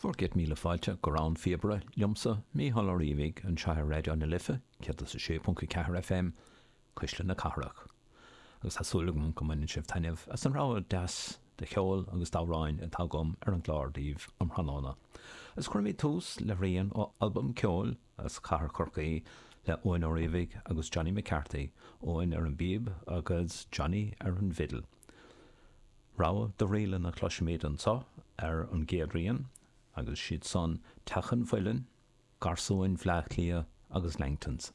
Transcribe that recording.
Bhur gcéad míle fáilte go Rann Phíobaire liomsa, Mícheál Ó Riabhaigh, anseo ar Raidió na Life 106.4 FM, Cuisle na Cathrach. Agus tá súil agam go mbaineann sibh taitneamh as an rogha deas de cheol agus d'amhráin atá agam ar an gclár daoibh um thráthnóna. Agus cuirfimid tús le rian ó albam ceoil as Cathair Chorcaí le Eoin Ó Riabhaigh agus Johnny McCarthy, Eoin ar an bpíb agus Johnny ar an bhfidil. Rogha de ríleanna a chloisfimid anseo ar an gcéad rian, agus siad san Teach an Mhuilinn, Garsúin Bhleá Cliath agus Langtons.